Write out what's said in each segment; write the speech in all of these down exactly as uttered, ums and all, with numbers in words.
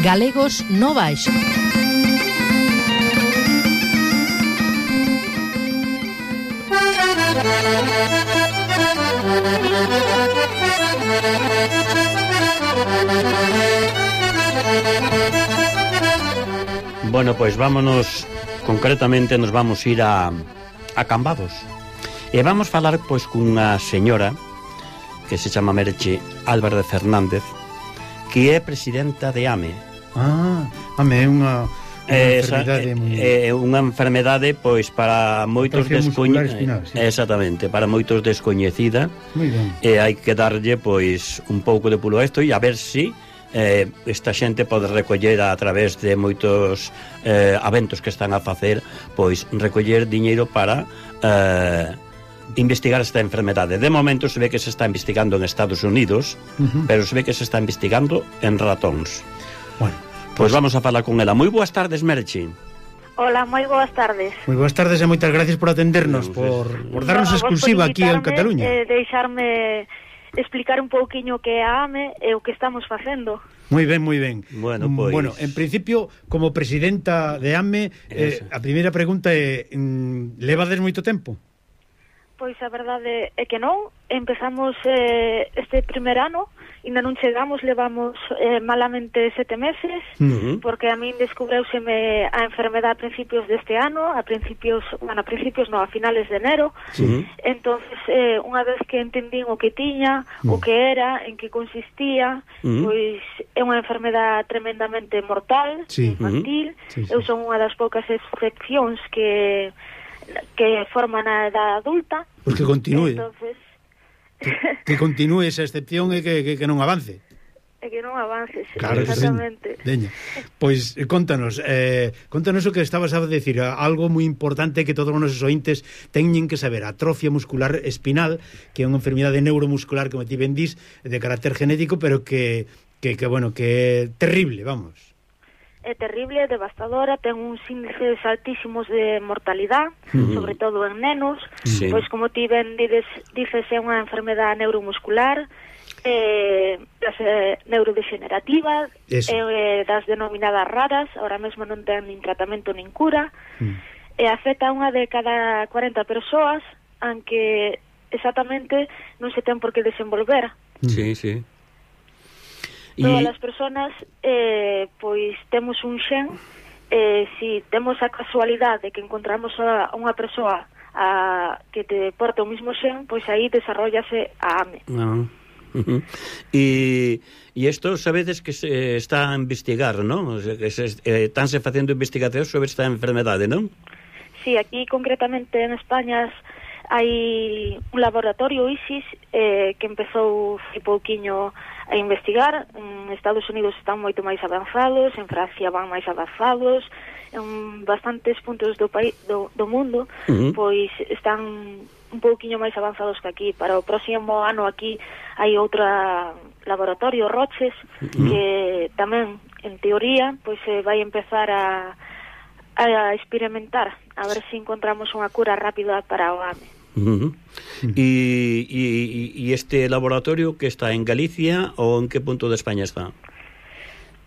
Galegos no Baixo. Bueno, pois vámonos, concretamente nos vamos ir a, a Cambados. E vamos falar pois cunha señora que se chama Merche Álvarez Fernández, que é presidenta de AME. Ah, AME é unha, unha eh, enfermedade esa, moi... é unha enfermedade pois para moitos descoñecida, sí. Exactamente, para moitos descoñecida. Moi ben. E hai que darlle pois un pouco de pulo a isto e a ver si eh, esta xente pode recoller a través de moitos eh, eventos que están a facer, pois recoller diñeiro para eh, investigar esta enfermedade. De momento se ve que se está investigando en Estados Unidos, uh-huh. pero se ve que se está investigando en ratóns. Bueno, pois pues vamos a falar con ela. Moi boas tardes, Merche. Hola, moi boas tardes. Moi boas tardes e moitas gracias por atendernos, por, por darnos no, exclusiva por aquí en Cataluña. Eh, deixarme explicar un pouquiño que é a AME e o que estamos facendo. Moi ben, moi ben. Bueno, pois... bueno, en principio, como presidenta de AME, eh, a primeira pregunta é, levades moito tempo? Pois a verdade é que non. Empezamos eh, este primer ano, ainda non chegamos, levamos eh, malamente sete meses, uh-huh. porque a min descubreuseme a enfermedade a principios deste ano, a principios, bueno, a principios non, a finales de enero. Uh-huh. Entonces, eh, unha vez que entendín o que tiña, uh-huh. o que era, en que consistía, uh-huh. pois é unha enfermedade tremendamente mortal, sí. infantil. Uh-huh. Sí, sí. Eu son unha das poucas excepcións que que forman a edad adulta. Pois que continúe. Entonces... que, que continúe esa excepción e que, que, que non avance. E que non avance, sí, claro, exactamente. Deña. Pois contanos, eh, contanos o que estabas a decir, algo moi importante que todos os nosos ointes teñen que saber, atrofia muscular espinal, que é unha enfermidade neuromuscular, como ti ben dís, de carácter genético, pero que, que, que bueno, que é terrible, vamos. É terrible, é devastadora, ten uns índices altísimos de mortalidade, uh-huh. sobre todo en nenos, sí. pois como ti ben dices, dices é unha enfermedade neuromuscular, eh, das, eh, neurodegenerativas, eh, das denominadas raras, ahora mesmo non ten nin tratamento nin cura, uh-huh. e afecta a unha de cada cuarenta persoas, aunque exactamente non se ten por que desenvolver. Sí, sí. Todas as persoas eh, pois temos un xen, eh, si temos a casualidade de que encontramos a unha persoa a, que te porta o mismo xen, pois aí desarrollase a AME. No. Uh-huh. E e isto sabedes que se está a investigar, non? O sea, que se eh, estánse facendo investigacións sobre esta enfermedade, non? Sí, aquí concretamente en España hai un laboratorio ISIS eh, que empezou hai pouquiño a investigar. En Estados Unidos están moito máis avanzados, en Francia van máis avanzados, en bastantes puntos do país do, do mundo, uh-huh. pois están un pouquiño máis avanzados que aquí. Para o próximo ano aquí hai outra laboratorio, Roches, uh-huh. que tamén, en teoría, pois se vai empezar a a experimentar, a ver se si encontramos unha cura rápida para o AME. Uh-huh. E, e, e este laboratorio que está en Galicia ou en que punto de España está?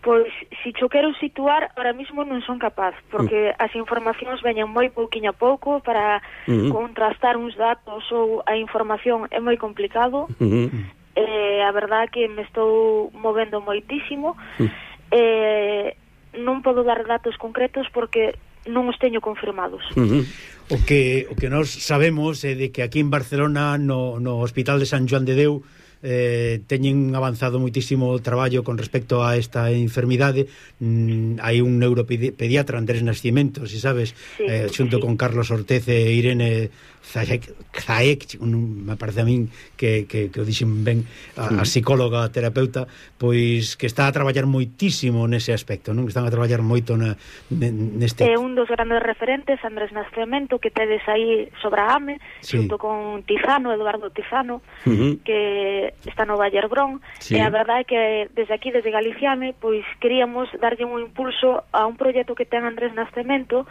Pois, se si xo quero situar, ahora mismo non son capaz, porque uh-huh. as informacións veñen moi pouquiño a pouco para uh-huh. contrastar uns datos ou a información é moi complicado. Uh-huh. Eh, a verdade que me estou movendo moitísimo. Uh-huh. Eh, non podo dar datos concretos porque non os teño confirmados. Uh-huh. O que o que nós sabemos é de que aquí en Barcelona no, no Hospital de San Joan de Deu eh, teñen avanzado moitísimo o traballo con respecto a esta enfermidade. Mm, hai un neuropediatra, Andrés Nascimento, si sabes, sí, eh, xunto sí. con Carlos Ortez e Irene Zaek, Zaek un, me parece a min que, que, que o dixen ben a, a psicóloga, a terapeuta, pois que está a traballar moitísimo nese aspecto, non? Están a traballar moito na, neste... É un dos grandes referentes, Andrés Nascimento, que tedes aí sobre a AME, sí. xunto con Tizano, Eduardo Tizano, uh-huh. que está no Vallerbrón, sí. e a verdade é que desde aquí, desde Galiciame, pois queríamos darlle un impulso a un proxecto que ten Andrés Nascimento.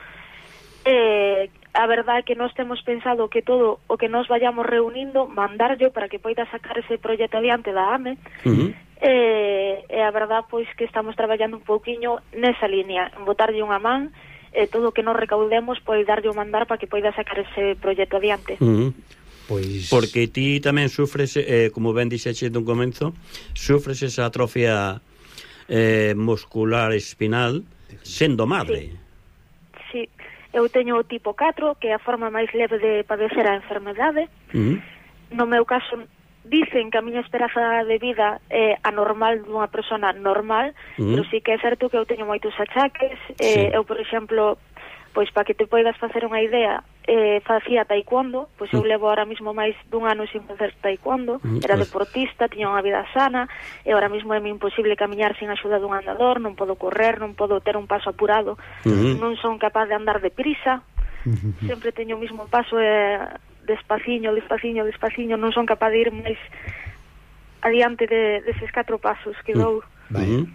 Eh, a verdade é que nós temos pensado que todo o que nos vayamos reunindo, mandarlo para que poida sacar ese proxecto adiante da AME, uh-huh. e, e a verdad pois que estamos traballando un pouquiño nesa línea, en botarlle unha man e todo o que nos recaudemos pois darlle o mandar para que poida sacar ese proxecto adiante. Uh -huh. Pois... Porque ti tamén sufres, eh, como ben dixeche dun comenzo, sufres esa atrofia eh, muscular espinal sendo madre. Sí. sí, eu teño o tipo catro, que é a forma máis leve de padecer a enfermedade. Uh -huh. No meu caso, dicen que a miña esperanza de vida é anormal dunha persona normal, uh -huh. pero sí que é certo que eu teño moitos achaques. Sí. Eh, eu, por exemplo, pois para que te poidas facer unha idea, eh, facía taekwondo, pois eu levo ahora mismo máis dun ano sin facer taekwondo, uh -huh. era deportista, tiña unha vida sana, e ahora mismo é imposible camiñar sin axuda dun andador, non podo correr, non podo ter un paso apurado, uh -huh. non son capaz de andar deprisa, uh -huh. sempre teño o mismo paso e... Eh, despaciño, despaciño, despaciño, non son capaz de ir máis adiante de, deses catro pasos que dou. Uh-huh.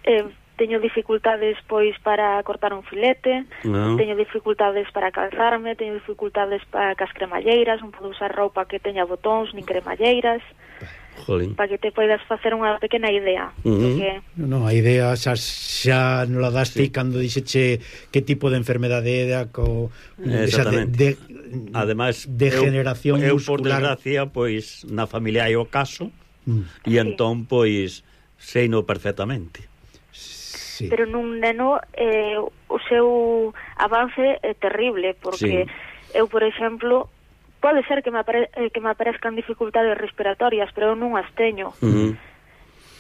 eh, teño dificultades pois para cortar un filete, no. teño dificultades para calzarme, teño dificultades para cas cremalleiras, non podo usar roupa que teña botóns nin cremalleiras. Jolín. Para que te poidas facer unha pequena idea. Uh -huh. Porque... No, a idea xa, xa non la daste sí. cando dixeche que tipo de enfermedade era co, esa de, de, además degeneración eu, eu muscular. por desgracia, pois na familia hai o caso mm. e sí. entón, pois seino perfectamente. Sí. Pero nun neno eh, o seu avance é terrible, porque sí. eu, por exemplo, pode ser que me, apare que me aparezcan dificultades respiratorias, pero eu non as teño. Uh -huh.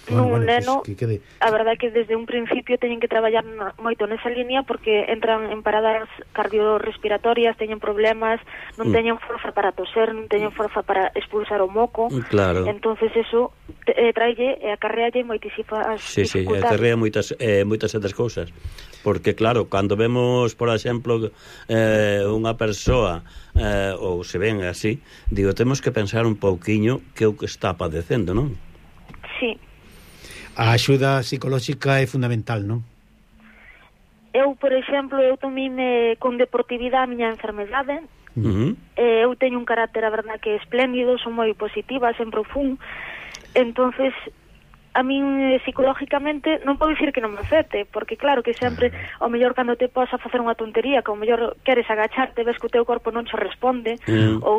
Nun bueno, bueno, neno, pues, que quede... a verdade é que desde un principio teñen que traballar moito nesa línea, porque entran en paradas cardiorrespiratorias, teñen problemas, non teñen forza para toser, non teñen forza para expulsar o moco. Claro. Entonces eso eh, traille e acarrealle moitísimas sí, dificultades. Sí, acarrea moitas, eh, moitas outras cousas. Porque claro, cando vemos, por exemplo, eh, unha persoa eh, ou se ven así, digo, temos que pensar un pouquiño que o que está padecendo, non? Sí. A axuda psicolóxica é fundamental, non? Eu, por exemplo, eu tomime con deportividade a miña enfermedade. Uh -huh. eh, eu teño un carácter, a verdade, que é espléndido, son moi positiva, sempre o fun. Entonces, a min psicológicamente non podo dicir que non me afecte, porque claro que sempre ao mellor cando te posa facer unha tontería, que ao mellor queres agacharte, ves que o teu corpo non che responde, uh -huh. ou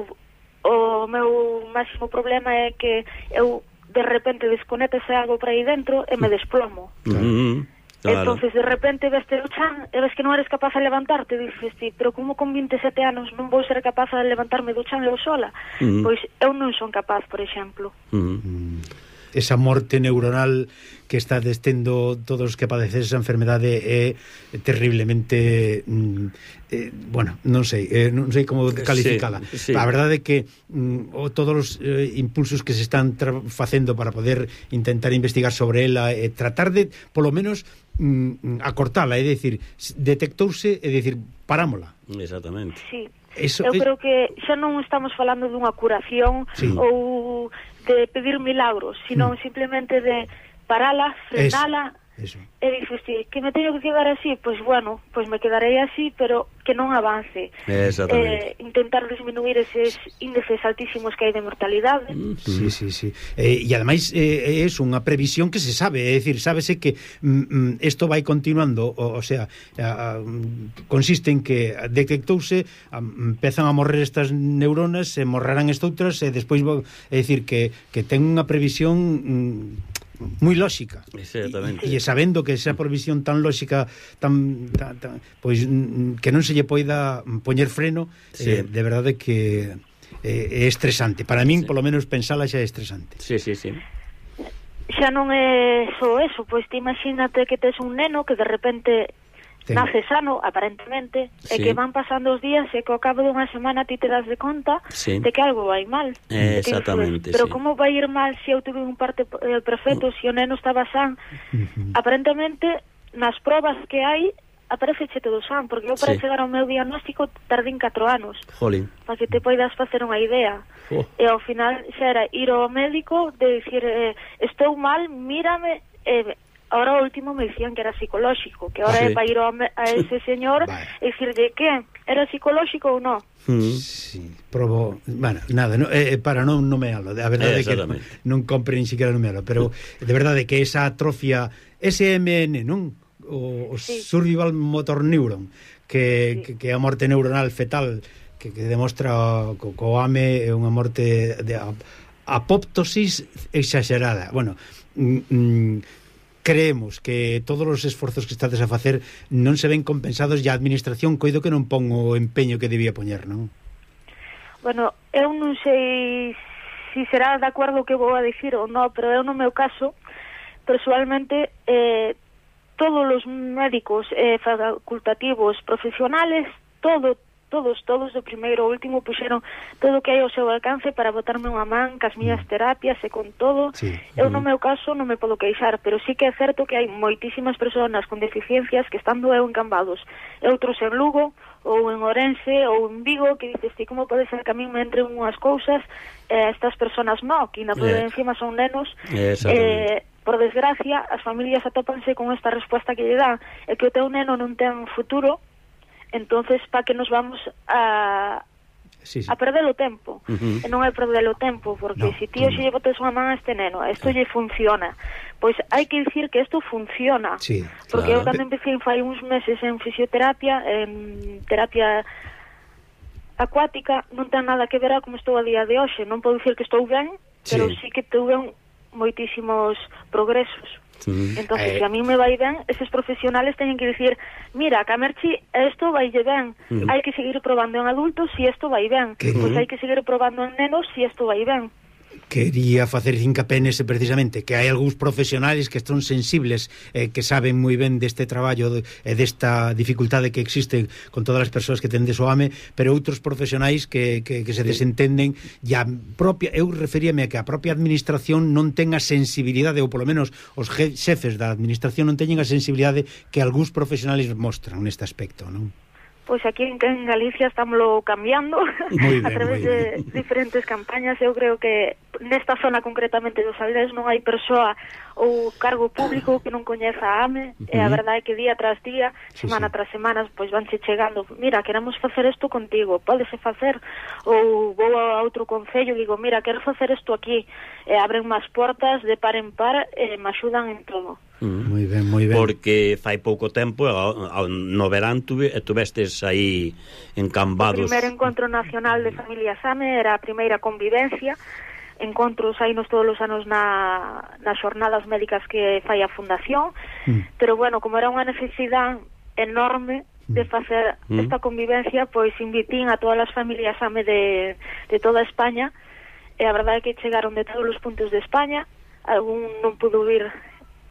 o meu máximo problema é que eu de repente desconectase algo para aí dentro e me desplomo. Uh -huh. Claro. Entonces de repente veste o chan e ves que non eres capaz de levantarte, dices ti, pero como con vinte e sete anos non vou ser capaz de levantarme do chan eu sola? Uh -huh. Pois eu non son capaz, por exemplo. Uh -huh. Esa morte neuronal que está destendo todos os que padecen esa enfermedade é terriblemente mm, eh, bueno, non sei eh, non sei como calificala. Sí, sí. A verdade é que mm, o, todos os eh, impulsos que se están facendo para poder intentar investigar sobre ela e eh, tratar de, polo menos mm, acortala, é dicir, detectouse e dicir, parámola. Exactamente. Sí. Eso eu es... creo que xa non estamos falando dunha curación sí. ou de pedir milagros, sino mm. simplemente de parala, frenala. Eso. E dices, sí, que me teño que quedar así, pois pues bueno, pois pues me quedarei así, pero que non avance. Exactamente. Eh, intentar disminuir eses índices altísimos que hai de mortalidade. Sí, sí, sí. Eh, e ademais eh, é unha previsión que se sabe, é dicir, sábese que isto mm, vai continuando, o, o sea, a, a, consiste en que detectouse, a, empezan a morrer estas neuronas, se morrerán estoutras e despois, é dicir, que, que ten unha previsión mm, moi lóxica. Exactamente. E, e sabendo que esa provisión tan lóxica tan, tan, tan pois que non se lle poida poñer freno, sí. eh, de verdade que eh, é estresante. Para min, sí. polo menos pensala xa é estresante. Sí, sí, sí. Xa non é só eso, pois te imagínate que tes un neno que de repente Ten. nace sano, aparentemente, sí. e que van pasando os días e que ao cabo dunha semana ti te das de conta sí. de que algo vai mal. Eh, exactamente, pero sí. como vai ir mal se eu tuve un parte eh, perfecto, se o neno estaba san? Uh-huh. Aparentemente, nas probas que hai, apareceche todo san, porque eu para sí. chegar ao meu diagnóstico tardín catro anos. Jolín. Para que te poidas facer unha idea. Oh. E ao final xa era ir ao médico de dicir, eh, estou mal, mírame, e... ahora o último me decían que era psicolóxico, que ahora sí. é para ir a, a ese señor e dicirle que era psicolóxico ou non. Mm. Sí, probo, bueno, nada, no, eh, para non nomealo, a verdade é que non, non compre ni siquiera nomealo, pero de verdade que esa atrofia S M N, non? O, o sí. Survival Motor Neuron, que, sí. que, que é a morte neuronal fetal, que, que demostra que o A M é unha morte de apoptosis exagerada. Bueno, mm, mm, creemos que todos os esforzos que estades a facer non se ven compensados e a administración coido que non pon o empeño que debía poñer, non? Bueno, eu non sei se si será de acordo que vou a dicir ou non, pero eu no meu caso, personalmente, eh, todos os médicos eh, facultativos profesionales, todo, todos, todos do primeiro ao último puxeron todo o que hai ao seu alcance para botarme unha man cas miñas terapias e con todo. Sí. Eu no meu caso non me podo queixar, pero sí que é certo que hai moitísimas persoas con deficiencias que estando eu en Cambados e outros en Lugo ou en Orense ou en Vigo que dices, ti, como pode ser que a mí me entren unhas cousas e eh, estas persoas non, que na yeah. encima son nenos eh, por desgracia as familias atópanse con esta resposta que lle dan é que o teu neno non ten futuro. Entonces, pa que nos vamos a sí, sí. a perder o tempo. Uh-huh. E non é perder o tempo, porque no, se ti hoxe lle botes unha man a este neno, isto lle funciona. Pois hai que dicir que isto funciona. Sí, porque claro. Eu cando empecé fai uns meses en fisioterapia, en terapia acuática, non ten nada que ver a como estou a día de hoxe. Non podo dicir que estou ben, sí. Pero sí que tuve moitísimos progresos. Sí. Entonces, eh... se a mí me vai ben, eses profesionales teñen que dicir, mira, Camerchi, isto vaille ben, uh-huh. hai que seguir probando en adultos si isto vai ben, pois pues hai que seguir probando en nenos si isto vai ben. Quería facer hincapié nese precisamente, que hai algúns profesionales que están sensibles, eh, que saben moi ben deste traballo e de, desta dificultade que existe con todas as persoas que tendes o A M E, pero outros profesionais que, que, que se sí. desentenden e a propia, eu referíame a que a propia administración non ten a sensibilidade, ou polo menos os xefes da administración non teñen a sensibilidade que algúns profesionales mostran neste aspecto, non? Pois aquí en, en Galicia estámoslo cambiando ben, a través de diferentes campañas. Eu creo que nesta zona concretamente dos Aldés non hai persoa ou cargo público que non coñeza a A M E. Uh-huh. E a verdade é que día tras día, sí, semana sí. tras semana, pois vanse chegando, mira, queremos facer isto contigo, pódese facer, ou vou a outro concello e digo, mira, quero facer isto aquí, e abren máis portas de par en par e me axudan en todo. Mm. Moi ben, moi ben. Porque fai pouco tempo ao, ao, no verán tuve, tuvestes aí en Cambados. O primeiro encontro nacional de familias A M E era a primeira convivencia. Encontros aí nos todos os anos na, nas xornadas médicas que fai a Fundación, mm. pero bueno, como era unha necesidade enorme de facer mm. esta convivencia, pois invitín a todas as familias A M E de, de toda España, e a verdade é que chegaron de todos os puntos de España. Algún non pudo vir,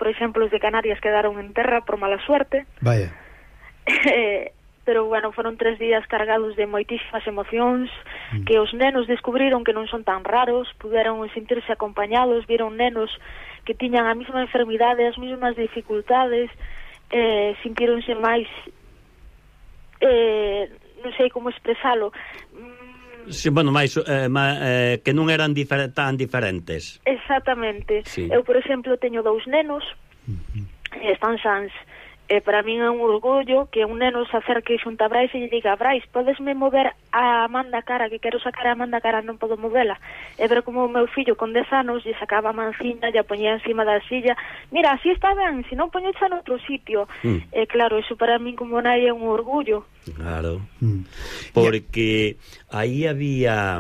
por exemplo, os de Canarias quedaron en terra por mala suerte. Vaya. Eh, pero, bueno, foron tres días cargados de moitísimas emocións, mm. que os nenos descubriron que non son tan raros, puderon sentirse acompañados, viron nenos que tiñan a mesma enfermidade, as mesmas dificultades, eh, sintironse máis, eh, non sei como expresalo, sí, bueno, máis eh, ma, eh, que non eran difer tan diferentes. Exactamente. Sí. Eu, por exemplo, teño dous nenos, uh-huh. e están sans. E para min é un orgullo que un neno se acerque xunto a Brais e lle diga, Brais, podesme mover a man da cara, que quero sacar a man da cara, non podo movela. E ver como o meu fillo con dez anos lle sacaba a manciña, lle poñía encima da silla, mira, así está ben, se non poñecha en outro sitio. Mm. E claro, iso para min como nai é un orgullo. Claro, mm. porque aí había...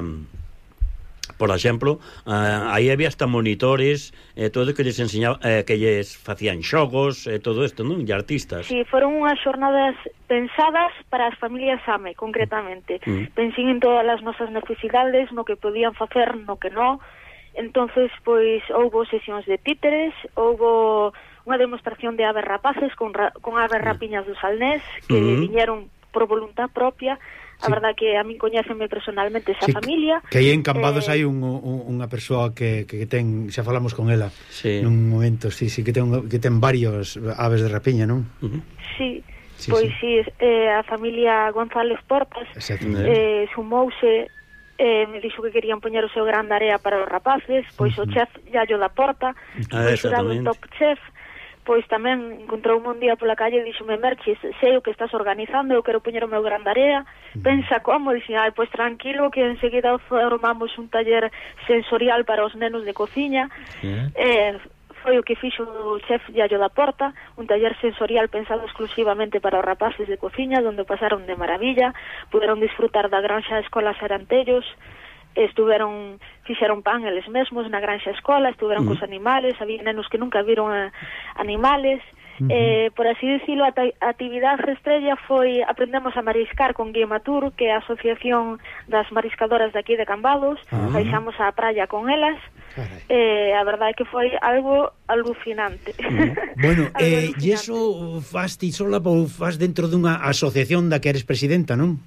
Por exemplo, uh, aí había hasta monitores, eh, todo que lles enseñaba, eh, que lles facían xogos, e eh, todo isto, non? E artistas. Sí, foron unhas xornadas pensadas para as familias A M E, concretamente. Mm. Pensín en todas as nosas necesidades, no que podían facer, no que non. Entonces, pois, houbo sesións de títeres, houbo unha demostración de aves rapaces con, ra con aves rapiñas do Salnés, que mm. viñeron por voluntad propia. A sí. verdad que a min coñécenme personalmente esa sí, familia. Que aí en Cambados eh... hai un, un, unha persoa que, que ten, xa falamos con ela sí. nun momento, sí, sí, que ten, que ten varios aves de rapiña, non? Uh -huh. Sí, sí, pois sí, sí eh, a familia González Portas eh, sumouse, eh, me dixo que querían poñer o seu gran area para os rapaces, pois uh -huh. o chef Yayo da Porta, ah, foi xurado un top chef, pois tamén encontroume un día pola calle e díxome: Merchi, sei o que estás organizando, eu quero poñer o meu gran area, pensa como. Dixen: ai, pois tranquilo, que enseguida formamos un taller sensorial para os nenos de cociña. Yeah. eh, foi o que fixo o chef Yayo da Porta, un taller sensorial pensado exclusivamente para os rapaces de cociña, donde pasaron de maravilla, puderon disfrutar da granxa Escola Sarantellos, estuveron, fixeron pan eles mesmos na granxa escola, estuveron uh -huh. cos animales, había nenos que nunca viron a, animales. Uh -huh. eh, por así dicilo, a, a actividade estrella foi aprendemos a mariscar con Guía Matur, que é a asociación das mariscadoras de aquí de Cambados. Uh -huh. Baixamos á praia con elas. Eh, a verdade é que foi algo alucinante. Uh -huh. Bueno, eh, e iso faz ti sola ou faz dentro dunha asociación da que eres presidenta, non?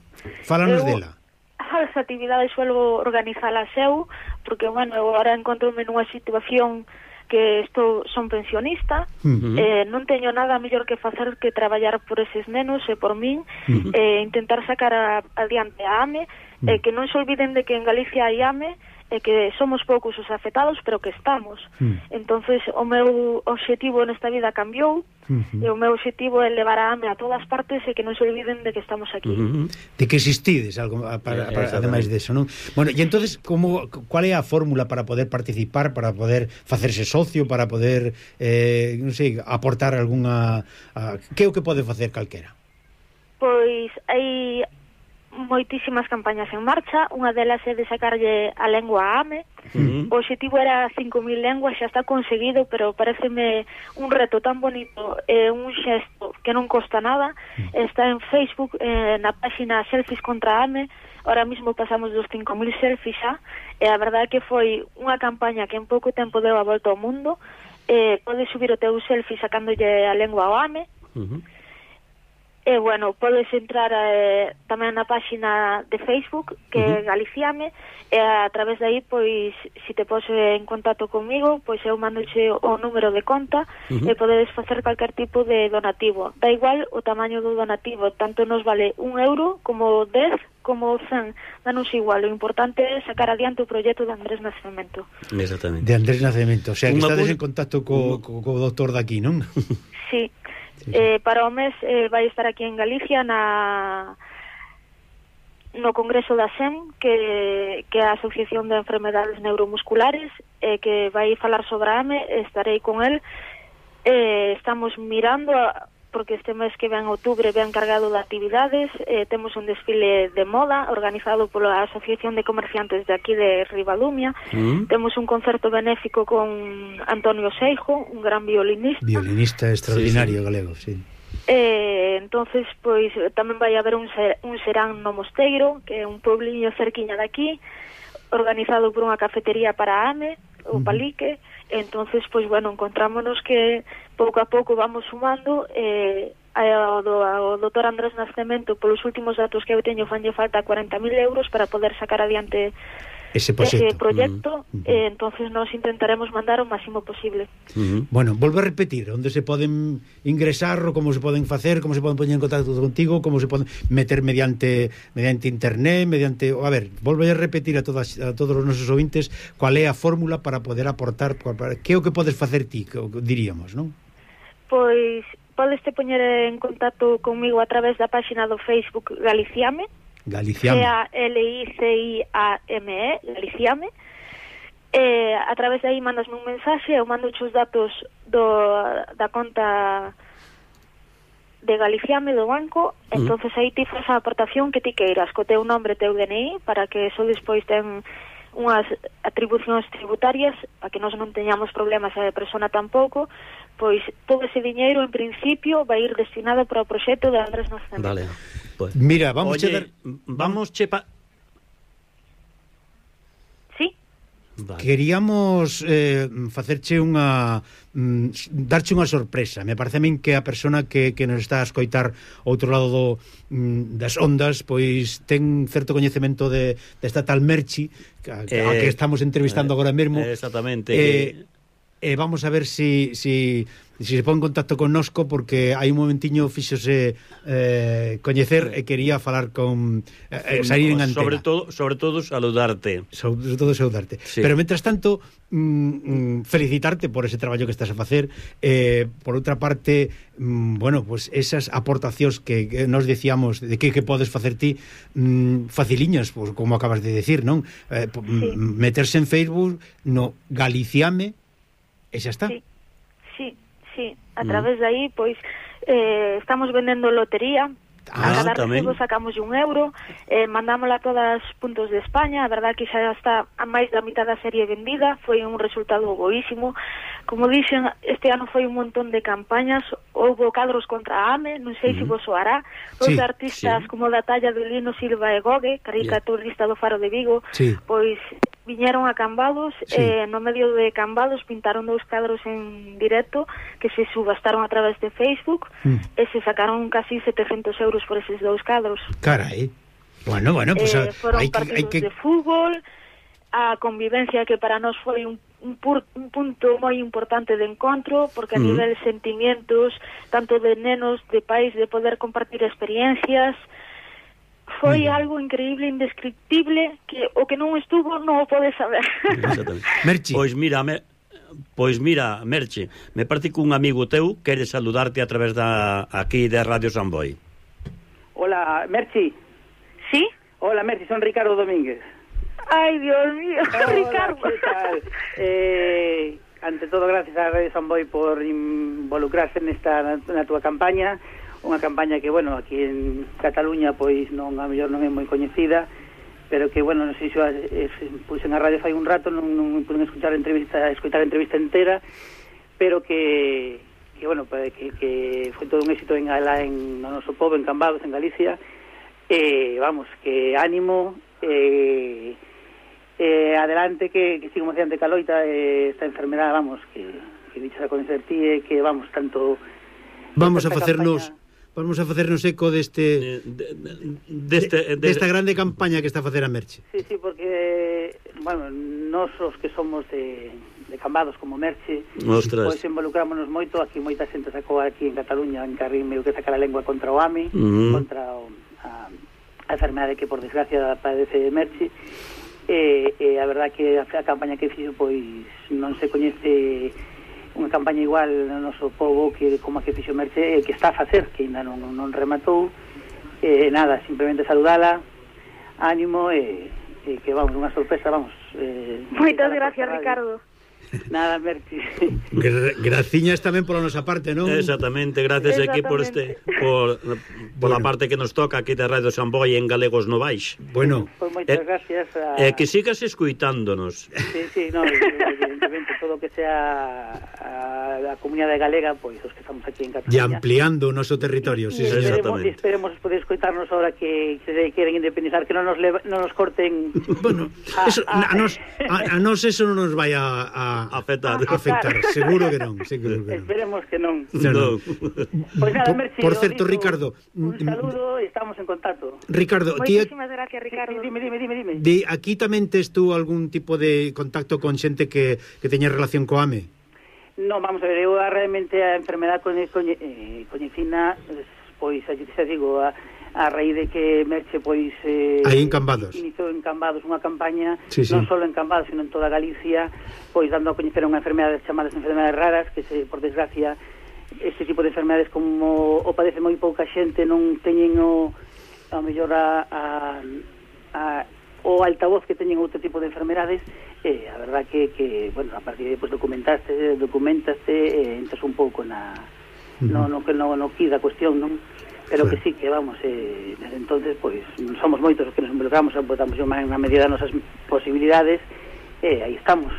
Fálanos eu... dela. As actividades suelo organizalas eu, porque, bueno, eu agora encontro-me nunha situación que estou, son pensionista, uh -huh. eh, non teño nada mellor que facer que traballar por eses nenos e por min, uh -huh. eh, intentar sacar a, adiante a AME, uh -huh. eh, que non se olviden de que en Galicia hai AME, e que somos poucos os afectados, pero que estamos. Uh -huh. Entonces, o meu obxectivo nesta vida cambiou, uh -huh. e o meu obxectivo é levar a AME a todas partes e que non se olviden de que estamos aquí. Uh -huh. De que existides, algo para, para, ademais deso, non? Bueno, e entonces, como, cual é a fórmula para poder participar, para poder facerse socio, para poder, eh, non sei, aportar algunha... A, que é o que pode facer calquera? Pois, hai moitísimas campañas en marcha, unha delas é de sacarlle a lengua a AME. Uh-huh. O objetivo era cinco mil lenguas, xa está conseguido, pero pareceme un reto tan bonito e eh, un xesto que non costa nada. Uh-huh. Está en Facebook, eh, na página Selfies contra AME. Ahora mismo pasamos dos cinco mil selfies xa, e a verdade é que foi unha campaña que en pouco tempo deu a volta ao mundo. Eh, podes subir o teu selfie sacándolle a lengua ao AME. Uh-huh. E, bueno, podes entrar eh, tamén na página de Facebook, que é uh -huh. Galiciame, e a través de aí, pois, se te pose en contacto comigo, pois eu mandoche o número de conta, uh -huh. e podedes facer calquer tipo de donativo. Da igual o tamaño do donativo, tanto nos vale un euro, como dez, como cen, danos igual. O importante é sacar adiante o proxecto de Andrés Nacemento. Exactamente. De Andrés Nacemento, o sea, que estades en contacto co, co, co doutor daqui, non? Sí. Eh, para o mes eh, vai estar aquí en Galicia na no Congreso da S E M, que, que é a Asociación de Enfermedades Neuromusculares, eh, que vai falar sobre a AME. Estarei con el. Eh, estamos mirando a, porque este mes que ven outubro ven cargado de actividades. Eh, temos un desfile de moda organizado pola Asociación de Comerciantes de aquí de Ribadumia. Mm. Temos un concerto benéfico con Antonio Seijo, un gran violinista. Violinista extraordinario, sí, sí. Galego, sí. Eh, entonces, pois, tamén vai haber un, ser, un serán no Mosteiro, que é un puebliño cerquiña de aquí, organizado por unha cafetería para a AME, o Palique. Entonces, pois, bueno, encontrámonos que pouco a pouco vamos sumando. eh, ao, do, ao doutor Andrés Nacemento, polos últimos datos que eu teño, fanlle falta cuarenta mil euros para poder sacar adiante ese proxecto, ese proxecto. Uh -huh. eh, entonces nos intentaremos mandar o máximo posible. Uh -huh. Bueno, volve a repetir onde se poden ingresar, ou como se poden facer, como se poden poñer en contacto contigo, como se poden meter mediante mediante internet, mediante, a ver, volve a repetir a todas a todos os nosos ouvintes cual é a fórmula para poder aportar, para, que é o que podes facer ti, que diríamos, non? Pois podes te poñer en contacto comigo a través da páxina do Facebook Galiciame. Galiciame. C A L I C I A M E, Galiciame. Eh, a través de aí mandasme un mensaxe, eu mando os datos do, da conta de Galiciame do banco. Uh-huh. Entonces aí ti faz a aportación que ti queiras, co teu nombre, teu D N I, para que eso despois ten unhas atribucións tributarias, para que nós non teñamos problemas a persona tampouco. Pois todo ese diñeiro en principio vai ir destinado para o proxecto de Andrés Nacemento. Vale. Pues, mira, vamos oye, a dar, vamos chepa. Sí. Vale. Queríamos eh, facerche unha mm, darche unha sorpresa. Me parece a min que a persona que, que nos está a escoitar outro lado do, mm, das ondas, pois ten certo coñecemento de desta tal Merchi que, eh, a que estamos entrevistando eh, agora mesmo. Exactamente. Eh, e vamos a ver si, si, si se pon en contacto connosco, porque hai un momentiño fixose eh, coñecer e quería falar con eh, salir en antena. Sobre todo, sobre todo saludarte. Sobre todo saludarte. Sí. Pero mentras tanto, mm, felicitarte por ese traballo que estás a facer. Eh, por outra parte, mm, bueno, pues esas aportacións que, que nos decíamos de que, que podes facer ti, mm, faciliñas, pues, como acabas de decir, non? Eh, sí. Meterse en Facebook no Galiciame e xa está. Sí, sí, sí. A través mm. de aí, pois, eh, estamos vendendo lotería. Ah, a cada tamén. recibo sacamos un euro, eh, mandámola a todas os puntos de España. A verdad que xa está a máis da mitad da serie vendida. Foi un resultado boísimo. Como dixen, este ano foi un montón de campañas. Houbo cadros contra a AME, non sei uh-huh. se vos soará. Os sí, artistas sí. como da talla de Lino Silva e Gogue, caricaturista yeah. do Faro de Vigo, sí. pois viñeron a Cambados, sí. eh, no medio de Cambados pintaron dous cadros en directo que se subastaron a través de Facebook mm. e se sacaron casi setecentos euros por eses dous cadros. Carai. Bueno, bueno, pues eh, foron hay partidos que, hay que... de fútbol, a convivencia que para nós foi un, un, pur, un punto moi importante de encontro, porque a mm. nivel de sentimientos, tanto de nenos, de pais, de poder compartir experiencias, foi mm. algo increíble, indescriptible, que o que non estuvo non o pode saber. Merche. Pois mira, me, pois mira, Merche, me parece que un amigo teu quere saludarte a través da aquí de Radio Samboy. Hola, Merche. ¿Sí? Hola, Merche, son Ricardo Domínguez. Ay, Dios mío, hola, Ricardo. ¿Qué tal? Eh, ante todo, gracias a Radio Samboy por involucrarse nesta na túa campaña. Unha campaña que, bueno, aquí en Cataluña pois non, a mellor non é moi coñecida, pero que, bueno, non sei se pois en a radio fai un rato, non, non puden escuchar a entrevista, escutar a entrevista entera, pero que, que bueno, que, que foi todo un éxito en, en no noso pobo, en Cambados, en Galicia, e, eh, vamos, que ánimo, eh, eh, adelante, que, que sigamos adiante caloita, eh, esta enfermedade, vamos, que, que dichas a conocer ti, eh, que, vamos, tanto... Vamos a facernos... Campaña... Vamos a facernos eco deste, de, de, deste, de, desta grande campaña que está a facer a Merche. Sí, sí, porque, bueno, nós os que somos de, de Cambados como Merche, Ostras. Pois involucrámonos moito. Aquí moita xente sacou aquí en Cataluña, en Carrín, meio que sacar a lengua contra o AMI, uh-huh. contra o, a, a enfermedade que, por desgracia, padece Merche. E, e a verdad que a, a campaña que fixo, pois, non se coñece... unha campaña igual no noso pobo que como a que fixo Merche, eh, que está a facer, que ainda non, non rematou. Eh, nada, simplemente saludala, ánimo, e eh, eh, que vamos, unha sorpresa, vamos. Eh, Moitas gracias, Ricardo. Nada, Merche. Gra graciñas tamén pola nosa parte, non? Exactamente, gracias aquí por este por, por bueno. a parte que nos toca aquí de Radio Samboy en Galegos Novais. Bueno, pues moitas eh, gracias a... eh, que sigas escuitándonos. Sí, sí, no, evidentemente todo que sea a, a comunidade galega, pois os que estamos aquí en Cataluña. E ampliando o noso territorio, sí, sí, esperemos, esperemos poder escoitarnos ahora que, que se queren independizar, que non nos leva, non nos corten. Bueno, a, eso, a, a, nos, a, a nos eso non nos vai a, a afectar. A afectar, seguro que non, seguro que non. Esperemos que non. No, no. Pois nada, Merche, por certo, digo, Ricardo, un saludo e estamos en contacto. Ricardo, moitísimas gracias, Ricardo. Sí, dime, dime, dime, dime. De aquí tamén tes tú algún tipo de contacto con xente que, que teña relación co AME? Non, vamos a ver, eu realmente a enfermedade coñe, coñe, eh, coñecina, pois, xa digo, a a raíz de que Merche pois eh, aí en Cambados iniciou en Cambados unha campaña, sí, sí. non só en Cambados, sino en toda Galicia, pois dando a coñecer unha enfermedade chamadas enfermedades raras, que se, por desgracia, este tipo de enfermedades como o padece moi pouca xente, non teñen o a mellor a, a, a o altavoz que teñen outro tipo de enfermedades. E a verdad que, que bueno, a partir de, pues, documentaste, documentaste e entras un pouco na uh-huh. no, no, no, no que da cuestión, non? Pero sí. que sí, que vamos, eh, desde entonces, pois, pues, somos moitos os que nos involucramos, botamos unha medida das nosas posibilidades, e aí estamos.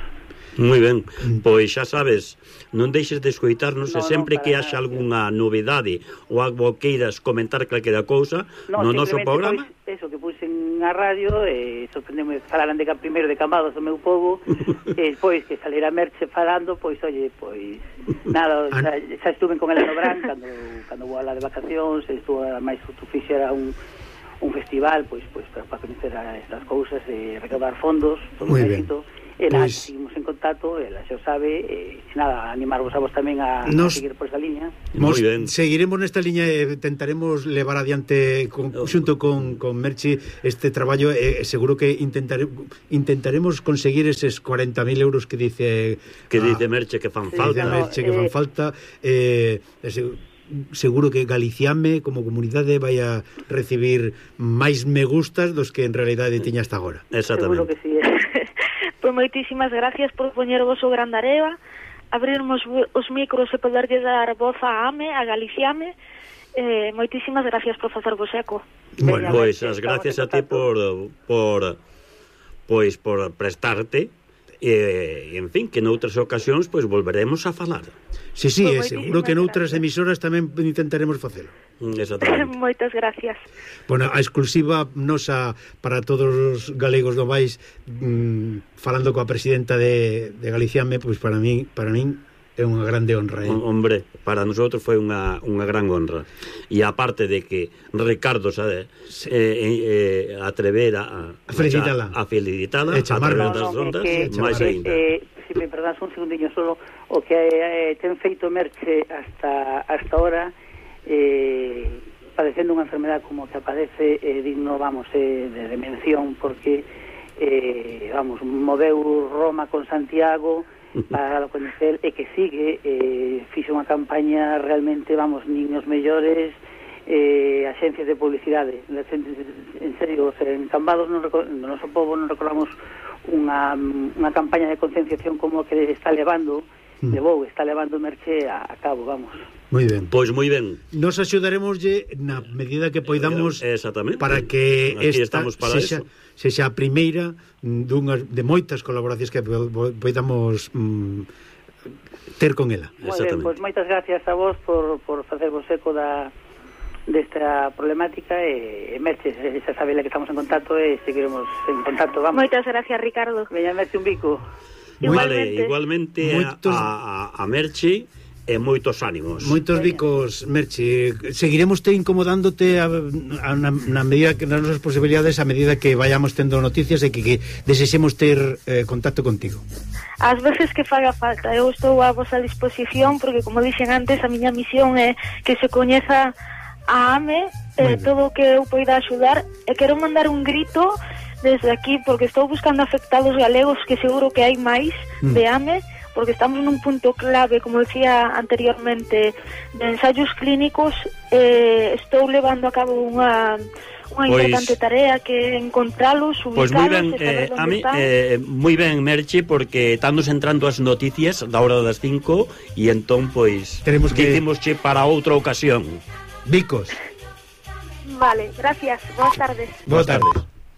Moi ben, pois xa sabes, non deixes de escoitarnos, no, e sempre no, que haxa nada, algunha novidade ou algo queiras comentar calquera cousa no, no noso programa. Pois, eso, que puxen a radio, e eh, sorprendeme, falaran de primeiro de Cambados do meu povo, e pois que salera Merche falando, pois, oye, pois, nada, xa, xa estuve con Eleno Brán, cando, cando vou a la de vacacións, estuvo máis tu fixera un un festival, pois, pois para, para coñecer a estas cousas e recaudar fondos, todo un éxito. E nada, Pois- seguimos en contacto, ela xa o sabe, e nada, animarvos a vos tamén a, Nos- a seguir por esa liña. Mos Moi ben. seguiremos nesta liña e tentaremos levar adiante con, xunto con, con Merchi este traballo e eh, seguro que intentare, intentaremos conseguir eses cuarenta mil euros que dice Que a- dice Merche que fan Sí, falta, falta. no, Merche que eh, fan falta eh, ese, seguro que Galiciame como comunidade vai a recibir máis me gustas dos que en realidade tiña hasta agora. Seguro Exactamente. que sí. Eh. Pois moitísimas gracias por poñer vos o gran areva, abrirmos os micros e poderlle dar voz a AME, a Galiciame. Eh, moitísimas gracias por facer vos eco. Bueno, Pois Estamos as gracias en a ti por por pois por prestarte e, en fin, que noutras ocasións pois volveremos a falar. Sí, sí, Pois é moitísimas seguro que noutras gracias. emisoras tamén intentaremos facelo. Mm, Exactamente. Moitas gracias. Bueno, a exclusiva nosa para todos os galegos do país, mmm, falando coa presidenta de, de Galiciame, pois para mí, para min é unha grande honra. Eh? Hombre, para nosotros foi unha, unha gran honra. E aparte de que Ricardo sabe, eh, eh, atrever a, A felicitala. a, a felicitala E a chamarla. través das No, no, ondas, é que, máis é, aínda. eh, se me perdas un segundinho solo, o que eh, ten feito Merche hasta hasta ahora, eh, padecendo unha enfermedad como que aparece, eh, digno, vamos, eh, de, de mención, porque eh, vamos, moveu Roma con Santiago para coñecer, e que sigue, eh, fixe unha campaña realmente, vamos, niños mellores, eh, axencias de publicidade, en serio, o sea, en Cambados no, no noso povo non recordamos unha, unha campaña de concienciación como que está levando, Mm. levou, está levando Merche a, a cabo, vamos. Moi ben. Pois moi ben. Nos axudaremoslle na medida que poidamos Exactamente. para que Aquí esta estamos para sexa, eso. sexa a primeira dunhas de moitas colaboracións que po- po- poidamos mm, ter con ela. Moi ben, Exactamente. pois moitas gracias a vos por, por facervos eco da desta problemática e, e Merche, xa sabe que estamos en contacto e seguiremos en contacto, vamos. Moitas gracias, Ricardo. Veña, Merche, un bico. Vale, Igualmente. igualmente Moitos- a, a, a Merche e moitos ánimos. Moitos bicos, Merchi. Seguiremos te incomodándote a, a, na, na medida que nas nosas posibilidades, a medida que vayamos tendo noticias e que, que desexemos ter eh, contacto contigo. As veces que faga falta, eu estou a vosa disposición porque, como dixen antes, a miña misión é que se coñeza a AME, eh, todo o que eu poida axudar, e quero mandar un grito desde aquí porque estou buscando afectados galegos que seguro que hai máis Mm. de AME, porque estamos nun punto clave, como decía anteriormente, de ensaios clínicos. Eh, estou levando a cabo unha unha Pois- importante tarea que é encontralos, Pois moi ubicalos, ben, e saber eh, onde a mí, están. eh, moi ben, Merche, porque estamos entrando as noticias da hora das cinco e entón, pois, Teremos que- dicimosche para outra ocasión. Bicos. Vale, gracias, boas tardes. Boa tarde.